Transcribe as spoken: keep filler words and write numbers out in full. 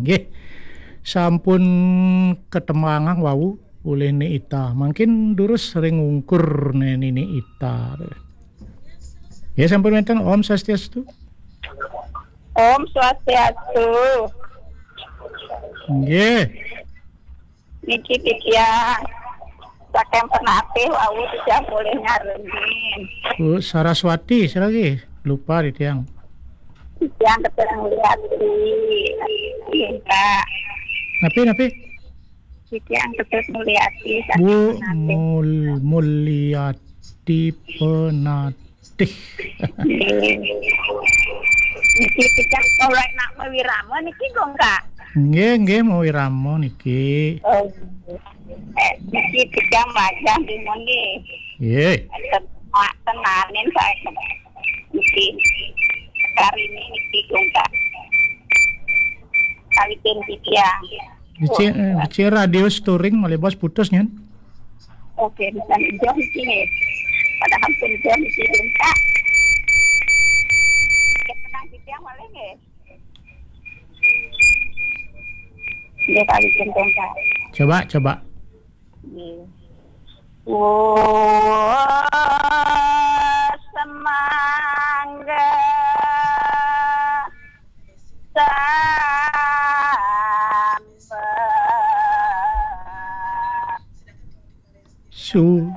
Nggih. Sampun ketembangang wau oleh Ni Ita. Mangkin durus ring ungkur Ni Ita. Ya, sampun wenten. Om Swastiastu. Om Swastiastu. Nggih. Niki titiang saking Penatih wau, titiang polih nyarengin. Bu Saraswati, sira lagi. Lupa titiang. Titiang ketemu Mulyati. Iya. Napi, napi? Titiang ketemu Mulyati saking Bu Penatih. Mul-, Mulyati Penatih. Nggih. Niki titiang ora nak mawirama niki, Gong, Kak? Nggih, nggih, mawirama niki. Oh. Eh, niki titiang majah di nggih. Nggih. Ten-, tenanin saya niki. Kari ini niki, Gong, Kak. Kawitin titiang. Becik, eh, becik radio storing malih bos putus nyen. Oke, bisa jam sini. Padahal pun jam sini, Kak. Ya, tenang, titiang malih nggih. Nggih, kali jeneng, Kak. Coba, coba. Nggih. Oh, semangga sambel. Su-